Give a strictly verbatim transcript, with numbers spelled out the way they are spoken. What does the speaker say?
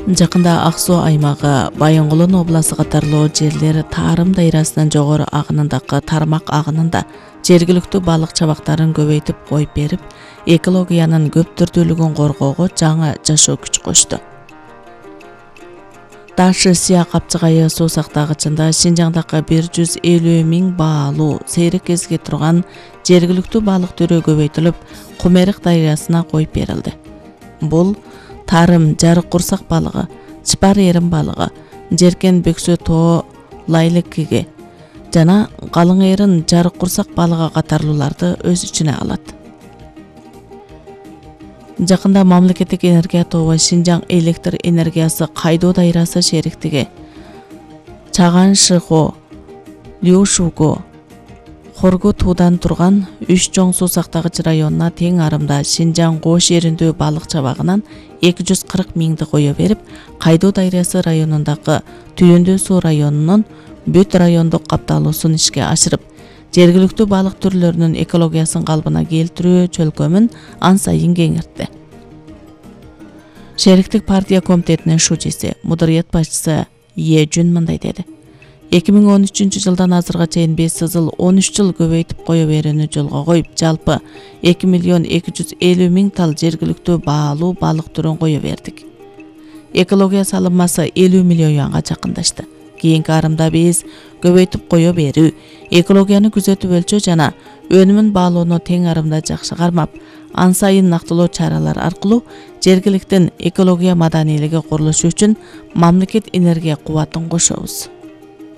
Жакында Ак Суу аймагы, Байонгулун областы катарлуу жерлер Тарым дайрасынын жогору агынындагы тармак агынында жергиликтүү балык чабактарын көбөйтүп коюп берип, экологиянын көп түрдүүлүгүн коргоого жаңы жашоо күч кошту. Ташы Сыя капчыгайы суу сактагычында Шинжаңдагы бир жүз элүү миң баалуу сейрек кезге турган жергиликтүү балык түрү көбөйтүлүп, Кумерик дайрасына коюп берилди. Бул Тарым жарык курсак балыгы, чыпар эрин балыгы, жеркен бөксө тоо лайлыкиге жана калың эрин жарык курсак балыгы катарлууларды өз ичине алат. Жакында мамлекеттик энергия тобу Шинжаң электр энергиясы кайдоо дайрасы шериктиги Чаган Шыхо, Люшуго, Хоргу туудан турган үч чоң суу сактагыч районуна тең арымда Шинжаң Кош жериндүү балык чабагынан эки жүз кырк миңди кое берип, кайдоо дайрасы районундагы Түйүндүү суу районунун бүт райондук капталуусун ишке ашырып, жергиликтүү балык түрлөрүнүн экологиясын калыбына келтирүү чөлкөмүн ан сайын кеңиртти. Шериктик партия комитетинин шужиси, мударыят башчысы Е Жүн мындай деди. эки миң он үчүнчү жылдан азырга чейин беш сызыл он үч жыл көбөйтүп кое берүүнү жолго коюп, жалпы эки миллион эки жүз элүү миң тал жергиликтүү баалуу балык түрүн кое бердик. Экология салымасы элүү миллион юанга жакындашты. Кийинки арымда биз көбөйтүп кое берүү, экологияны күзөтүп өлчөө жана өнүмүн баалоону тең арымда жакшы кармап, ан сайын нактылоо чаралар аркылуу жергиликтин экология маданийлиги курулушу үчүн мамлекет энергия кубатын кошобуз.